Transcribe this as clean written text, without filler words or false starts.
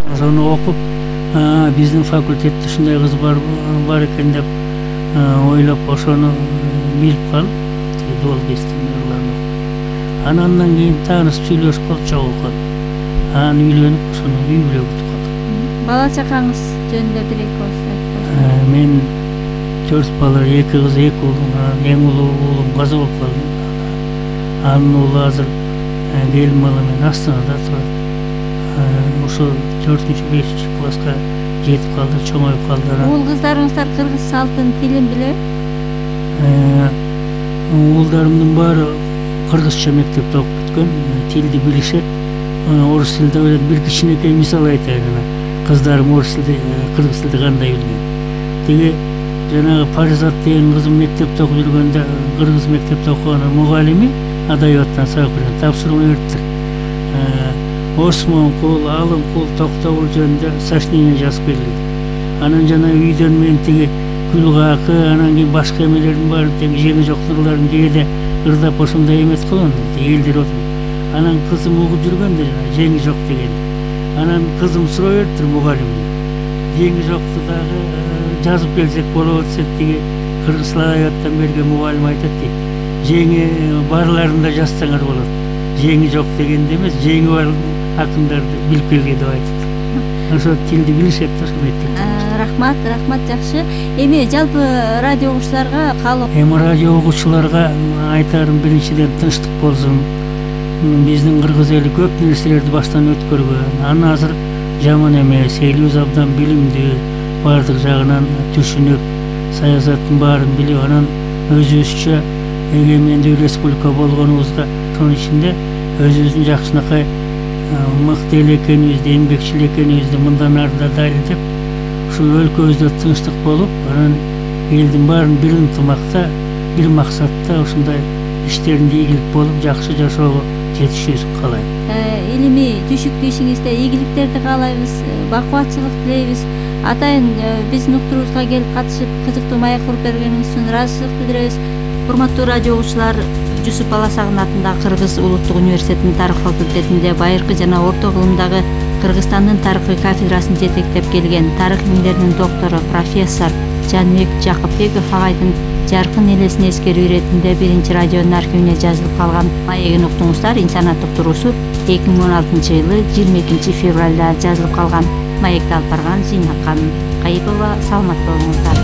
Ошону окуп, биздин факультетте ушундай кыз бар экен деп ойлоп, ошону билип калып, дуал кестирмелерин. Андан кийин таанышып сүйлөшүп калып, чогулган. Анан үйлөнүп, ошону үй бүлө бүтүп калдык. Бала чакаңыз жөнүндө бир эки ооз айтып. Мен 4 бала, 2 кыз, 2 уул. Эң улуу уулум каза болуп калды. Анын уулу азыр келин бала менен Астанада турат. Ошо 4-5 класска жетип калды, чоңоюп калды. Уул кыздарыңыздар кыргыз салтын, тилин билеби? Уулдарымдын баары кыргызча мектепте окуп бүткөн, тилди билишет. Орус тилинде ойлойт. Бир кичинекей мисал айтайын. Кыздарым орус тилди, кыргыз тилди кандай билген. Тиги жанагы Паризат деген кызым мектепте окуп жүргөндө, кыргыз мектепте окуган мугалими адабияттан сабак берген, тапшырма бериптир. Осмон кул, алым кул, токтогул жөнүндө сочинение жазып берилди. Анан жана үйдөн мен тиги гүлгакы, анан кийин башка эмелердин баарын тең жеңи жок ырларын кээде ырдап ошондой эмес кылган. Элдер отуруп. Анан кызым угуп жүргөн да жеңи жок деген. Анан кызым суроо бериптир мугалимге. Жеңи жокту дагы жазып келсек болот десек, тиги кыргыз адабияттан берген мугалим айтат дейт. Жеңи барларын да жазсаңар болот. Жеңи жок дегенде эмес, жеңи бар акындарды билип келген деп айтат. Ошо тилди билишет да ошо мектепте. Рахмат, жакшы. Эми жалпы радио угуучуларга каалоо. Эми радио угуучуларга айтарым биринчиден тынчтык болсун. Биздин кыргыз эли көп нерселерди баштан өткөргөн. Аны азыр жаман эмес, элибиз абдан билимдүү, баардык жагынан түшүнүп, саясаттын баарын билип, анан өзүбүзчө эгемендүү республика болгонубузга, ошонун ичинде өзүбүздүн жакшынакай мыкты эл экенибизди, эмгекчил экенибизди мындан ары да далилдеп, ушул өлкөбүздө тынчтык болуп, анан элдин баарын бир ынтымакта, бир максатта ушундай иштеринде ийгилик болуп, жакшы жашоого жетишүүсүн каалайм. Илимий түшүктүү ишиңизде ийгиликтерди каалайбыз, бакубатчылык тилейбиз. Атайын биздин уктуруубузга келип катышып, кызыктуу маек куруп бергениңиз үчүн ыраазычылык билдиребиз. Урматтуу радио угуучулар, Жусуп Баласагын атындагы Кыргыз Улуттук университетинин тарых факультетинде байыркы жана орто кылымдагы Кыргызстандын тарыхый кафедрасын жетектеп келген тарых илимдеринин доктору профессор Жанбек Жакыпбеков агайдын жаркын элесин эскерүү иретинде 1 радионун архивине жазылып калган маегин уктуңуздар. Инсанаттык туруусу 2016-жылы 22 февралда жазылып калган. Маекти алып барган Зейнат Кайыпова. Саламат болуңуздар.